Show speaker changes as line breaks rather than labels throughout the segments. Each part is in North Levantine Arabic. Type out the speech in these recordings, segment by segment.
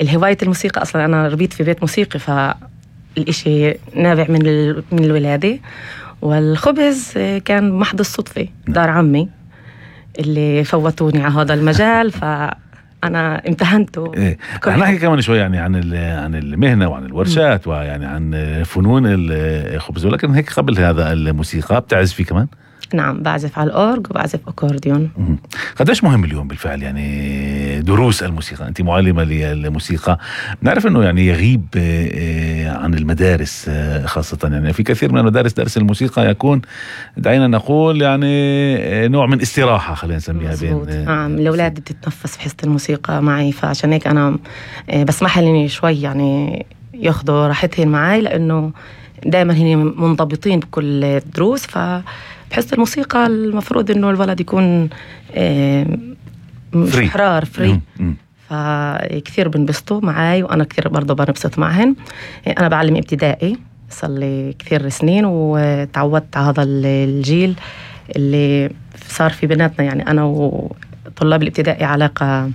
الهواية الموسيقى أصلا أنا ربيت في بيت موسيقي، فالإشي نابع من الولادة. والخبز كان محض الصدفة، دار عمي اللي فوتوني على هذا المجال فأنا امتهنته.
رح نحكي كمان شوي يعني عن المهنة وعن الورشات ويعني عن فنون الخبز، ولكن هيك قبل هذا الموسيقى بتعزفي كمان؟
نعم، بعزف على الأورج وبعزف أكورديون.
قديش مهم اليوم بالفعل يعني دروس الموسيقى؟ أنت معلمة للموسيقى، نعرف أنه يعني يغيب عن المدارس خاصة، يعني في كثير من المدارس درس الموسيقى يكون دعينا نقول يعني نوع من استراحة، خلينا نسميها بين
نعم. الأولاد بتتنفس في حصة الموسيقى معي، فعشان هيك أنا بسمح لي شوي يعني ياخدوا راحتهم معي، لأنه دائما هني منضبطين بكل الدروس. فبحس الموسيقى المفروض إنه الولد يكون حرار فري. فكثير بنبسطوا معي، وأنا كثير برضو بنبسط معهن. أنا بعلم ابتدائي صار لي كثير سنين، وتعودت على هذا الجيل اللي صار في بيناتنا، يعني أنا وطلاب الابتدائي علاقة.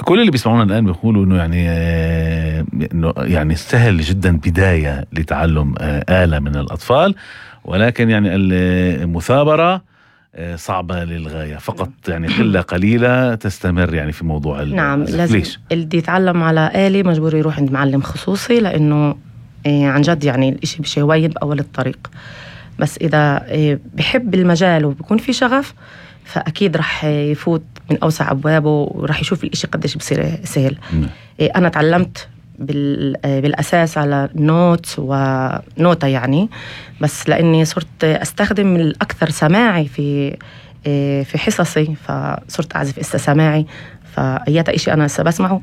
كل اللي بيسمعونا الآن بيقولوا إنه يعني سهل جدا بداية لتعلم آلة من الأطفال، ولكن يعني المثابرة صعبة للغاية، فقط يعني قلة قليلة تستمر يعني في موضوع
نعم. لازم اللي يتعلم على آلة مجبور يروح عند معلم خصوصي، لأنه عن جد يعني الإشي مش هواين بأول الطريق. بس إذا بحب المجال وبيكون في شغف، فأكيد رح يفوت من أوسع أبوابه، ورح يشوف الإشي قديش بصير سهل. أنا تعلمت بالأساس على نوت ونوتة يعني، بس لأني صرت أستخدم الأكثر سماعي في حصصي، فصرت أعزف سماعي. فأيات إشي أنا بسمعه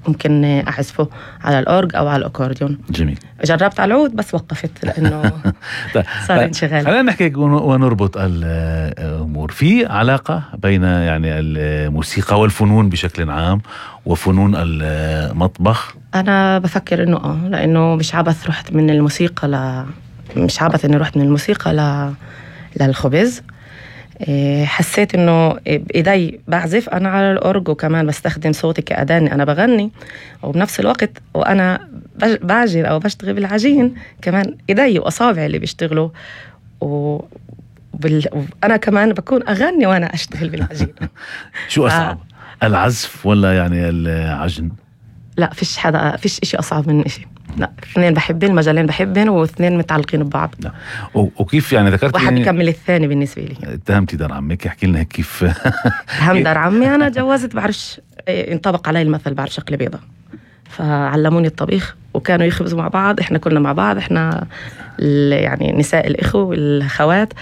ممكن أعزفه على الأورج أو على الأكورديون.
جميل.
جربت على العود بس وقفت لأنه صار انشغال.
خلينا نحكي ونربط الأمور. في علاقة بين يعني الموسيقى والفنون بشكل عام وفنون المطبخ؟
أنا بفكر إنه لأنه مش عبث رحت من الموسيقى مش عبث إني رحت من الموسيقى للخبز. حسيت إنه بإيدي بعزف أنا على الأورج، وكمان بستخدم صوتي كأداة أنا بغني، وبنفس الوقت وأنا بعجن أو بشتغل بالعجين كمان إيدي وأصابعي اللي بيشتغلوا، وأنا كمان بكون أغني وأنا أشتغل بالعجين.
شو أصعب، العزف ولا يعني العجن؟
لا، فيش إشي أصعب من إشي. لا، اثنين بحبين، المجالين بحبين، واثنين متعلقين ببعض.
وكيف يعني ذكرت
واحد بكمل الثاني بالنسبة لي.
اتهمتي دار عمك، احكي لنا كيف.
اتهم دار عمي، أنا جوزت بعرفش انطبق علي المثل بعرف شكل بيضة، فعلموني الطبيخ وكانوا يخبزوا مع بعض، احنا كنا مع بعض، احنا يعني نساء الإخوة والخوات.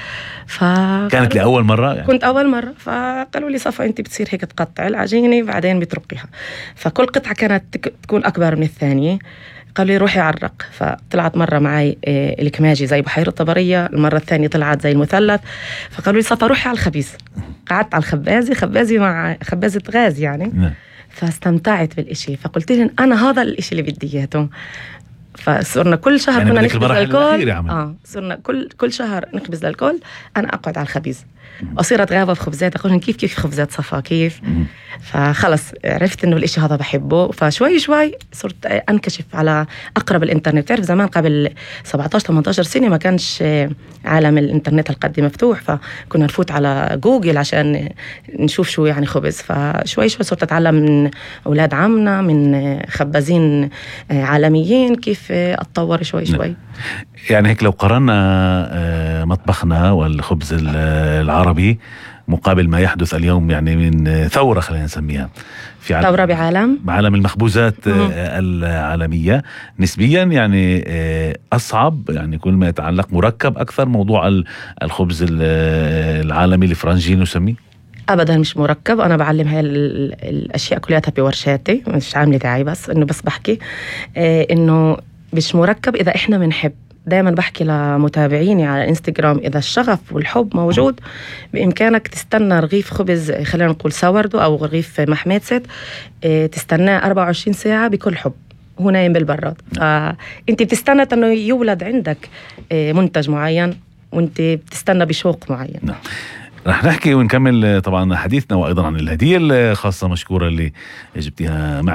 كانت لأول مرة يعني؟
كنت أول مرة. فقالوا لي صفا أنت بتصير هيك تقطع العجينة بعدين بترقيها، فكل قطعة كانت تكون أكبر من الثانية. قالوا لي روحي عرق. فطلعت مرة معي الكماجي زي بحيرة طبرية، المرة الثانية طلعت زي المثلث. فقالوا لي صفا روحي على الخبيز. قعدت على خبازي مع خبازة غاز يعني. فاستمتعت بالإشي، فقلت لهم أنا هذا الإشي اللي بدي إياه. فصرنا كل شهر
يعني
كنا نخبز للكل.
صرنا
كل شهر نخبز للكل. أنا أقعد على الخبيز، أصير أتغابى في خبزات، أقولهم كيف خبزات صفا كيف. فخلص عرفت إنه الإشي هذا بحبه. فشوي شوي صرت أنكشف على أقرب الإنترنت. تعرف زمان قبل 17-18 سنة ما كانش عالم الإنترنت هالقد مفتوح، فكنا نفوت على جوجل عشان نشوف شو يعني خبز. فشوي شوي صرت أتعلم من أولاد عمنا، من خبازين عالميين، كيف أتطور شوي.
يعني هيك لو قررنا مطبخنا والخبز العربي مقابل ما يحدث اليوم يعني من ثورة، خلينا نسميها في
ثورة بعالم
المخبوزات العالمية، نسبيا يعني أصعب، يعني كل ما يتعلق مركب أكثر موضوع الخبز العالمي الفرنجي نسميه؟
أبدا مش مركب. أنا بعلم هاي الأشياء كلها بورشاتي، مش عاملة داعي، بس إنه بس بحكي إنه مش مركب. إذا إحنا بنحب، دائما بحكي لمتابعيني على انستغرام، إذا الشغف والحب موجود بإمكانك تستنى رغيف خبز، خلينا نقول ساوردو أو رغيف محميتست، تستناه 24 ساعة بكل حب، هو نايم بالبراد. فأنت بتستنى أنه يولد عندك منتج معين، وأنت بتستنى بشوق معين.
رح نحكي ونكمل طبعا حديثنا، وأيضا عن الهدية الخاصة مشكورة اللي جبتها معي.